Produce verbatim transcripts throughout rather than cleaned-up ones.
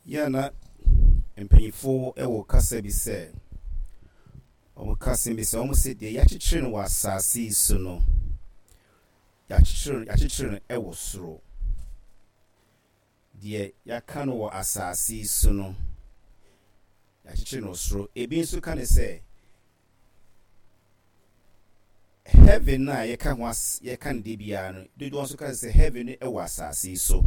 Yɛ na mpanyinfoɔ wɔ kasa bi sɛ, wɔn kasa bi sɛ, wɔn sɛ deɛ yɛakyekyere no wɔ asase yi so no, yɛakyekyere no yɛakyekyere no wɔ soro. Deɛ yɛaka no wɔ asase yi so no, yɛakyekyere no wɔ soro. Ebi nso ka ne sɛ heaven a yɛka ho as yɛka no de biara no, dodoɔ nso ka sɛ heaven no wɔ asase yi so.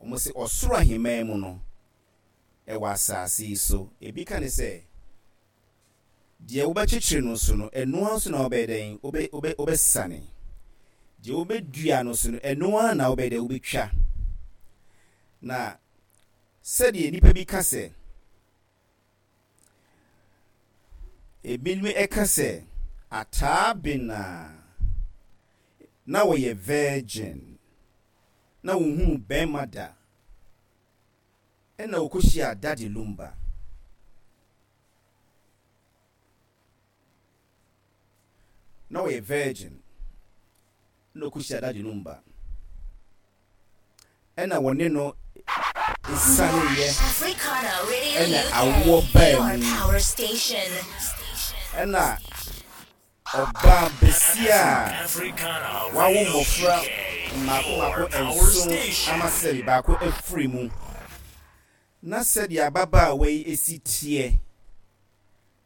Wɔn sɛ ɔsoro ahemman mu no ɛwɔ asase yi so. Ebi ka ne sɛ deɛ wobɛkyekyere no so no, ɛnoa nso na wobɛyɛ dɛn, wobɛ wobɛ wobɛsane. Deɛ wobɛdua no so no, ɛnoa na wobɛyɛ dɛn, wobɛtwa. Na sɛdeɛ nipa bi ka sɛ, ebinom ɛka sɛ Ataa Bena na wɔyɛ virgin na wohunu bɛrima da, ɛna wɔkɔhyia Daddy Lumba. Na wɔyɛ virgin na ɔkɔhyia Daddy Lumba, ɛna wɔne no esaneeɛ, ɛna awoɔ baa mu, ɛna ɔbaa besia a wawo mmɔfra mmaako mmaako nson ama sɛbi baako afiri mu. Na sɛdeɛ ababaawa yi esi teɛ,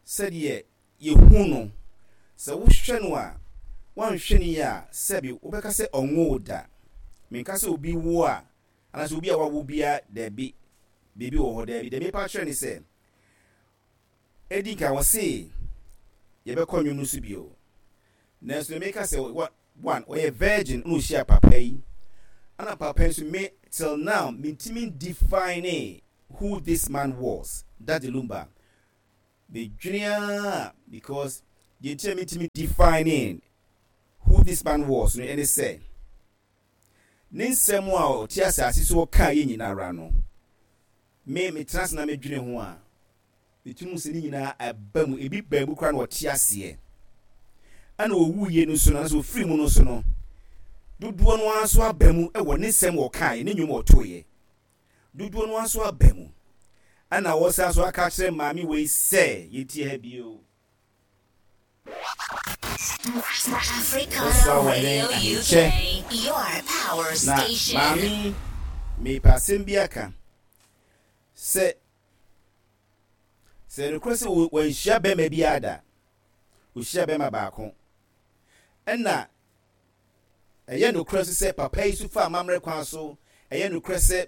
sɛdeɛ yɛhu no, sɛ wohwɛ no a, woanhwɛ no yie a, sɛbi wobɛka sɛ ɔnwoo da. Menka sɛ obi wo a, anaasɛ obi a wawo biara, daabi, biribi wɔ hɔ, daabi. Deɛ mepa kyerɛ ne sɛ, ɛdi nka wɔ se yɛbɛkɔ nnwom no so bio, nanso deɛ meka sɛ, one, ɔyɛ virgin na ɔhyia papa yi, ɛna papa yi nso, me till now mentumi define who this man was, Daddy Lumba. Medwene a, because deɛ nti a mentumi define who this man was no ɛne sɛ, ne nsɛm a ɔte asase so ɔkaa yɛ nyinara no, me metena ase na medwene ho a, metumi sɛ ne nyinaa aba mu. Ebi baa mu koraa na ɔte aseɛ, ɛna ɔwuiɛ no nso no, anaasɛ ɔfiri mu no nso no, dodoɔ no ara nso aba mu wɔ ne nsɛm ɔkaeɛ ne nnwom ɔtoeɛ, dodoɔ no ara nso aba mu. Ɛna wɔsan so aka kyerɛ maame wei sɛ yɛtie ha bio. Africana Radio U K, your power na station. Maame, mepɛ asɛm bi aka sɛ sɛ nokorɛ sɛ wanhyia bɛrima bi ada, ɔhyia bɛrima baako, ɛna ɛyɛ nokorɛ nso sɛ papa yi so fa amammerɛ kwan so. Ɛyɛ nokorɛ sɛ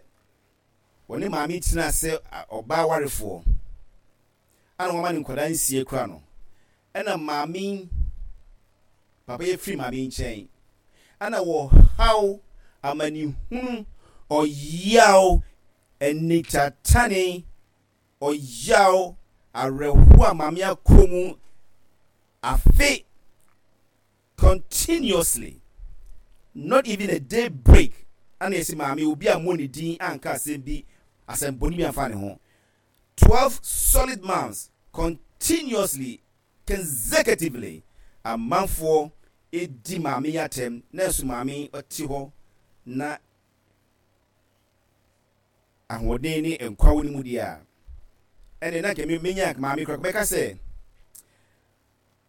wɔne maame tena sɛ ɔbaa warefoɔ, ana wɔma ne nkwadaa nsie kora no, ɛna maame, papa yi firi maame nkyɛn, ɛna wɔhaw amanehunu, ɔyaw, anitatane, ɔyaw, awerɛhoɔ a maame akɔ mu afe continuously, not even a day break. Ana yɛsi maame obi a mo ne din anka asɛm bi, asɛm bɔne bi amfa ne ho, twelve solid months continuously, consecutively, amanfoɔ edi maame yi atɛm, na nso maame ɔte hɔ na ahoɔden ne nkwa wɔ ne mu deɛ a, ɛne na nka menya maame koraa bɛka sɛ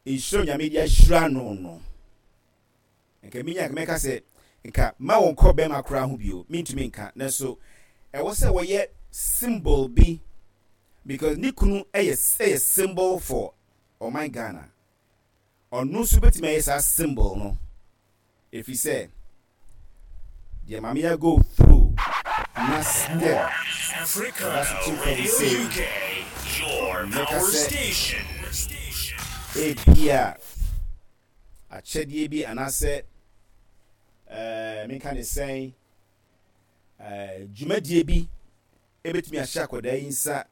nhyira Nyame de ahyira no no nka menya nka mɛka sɛ nka ma wɔn kɔ bɛrima koraa ho bio. Mentumi nka, nanso ɛwɔ sɛ wɔyɛ symbol bi, because ne kunu ɛyɛ ɛyɛ symbol for ɔman Ghana. Ɔno nso bɛtumi ayɛ saa symbol no, ɛfiri sɛ deɛ maame ya go through na still Africana ɔda so te fam Radio sei. U K, your Mɛka power sɛ station. ebia akyɛdeɛ bi anaasɛ ɛɛ menka ne sɛn, ɛɛ dwumadie bi ebɛtumi ahyɛ akwadaa yi nsa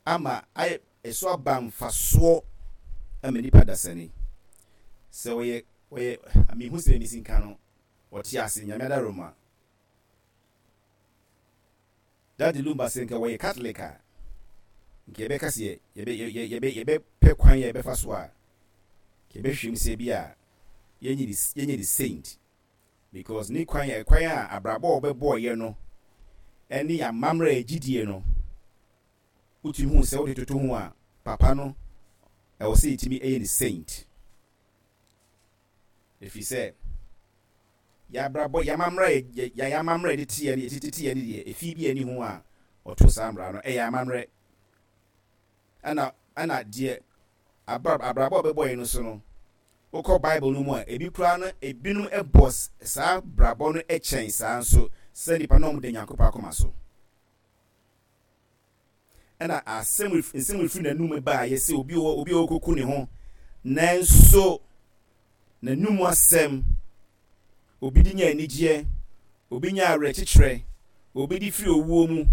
ama ayɛ ɛso aba mfasoɔ ama nipa dasani sɛ ɔyɛ ɔyɛ amihu sɛ mesi nka no, ɔte ase. Nyame adaroma, Daddy Lumba, sɛ nka wɔyɛ Catholic a, nka yɛbɛka sɛ yɛbɛ yɛbɛ yɛbɛpɛ kwan yɛ yɛbɛfa so a yɛbɛhwɛ mu sɛ bi a yɛnyɛ de yɛnyɛ de saint, because ne kwan kwan a abrabɔ a ɔbɛbɔɔyɛ no Ɛne amammerɛ a ɛgyidie no, wotumi hu sɛ wode toto ho a, papa no ɛwɔ sɛ yɛtumi ɛyɛ ne saint, ɛfiri sɛ yɛabrabɔ, yɛamammerɛ, yɛyɛ amammerɛ de teɛ no, yɛtete teɛ no deɛ, ɛfi bi ani ho a ɔto saa mmara no ɛyɛ amammerɛ. ɛna ɛna deɛ abrabɔ a ɔbɛbɔ yɛn no so no, wokɔ Bible no mu a, ebi koraa no, ebinom bɔ saa brabɔ no kyɛn saa nso sɛ nipa na wɔn de Nyankopɔn akoma so. Ɛna asɛm, nsɛm efiri n'anum baa yɛ sɛ obi wɔ obi a ɔkɔku ne ho, nanso n'anum asɛm obi de nya anigyeɛ, obi nya awerɛkyekyerɛ, obi de firi owuo mu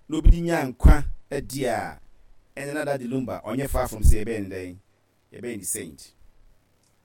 na obi de nya nkwa adi a, ɛne na Daddy Lumba ɔnyɛ far from sɛ yɛbɛyɛ ne dɛn, yɛbɛyɛ ne saint.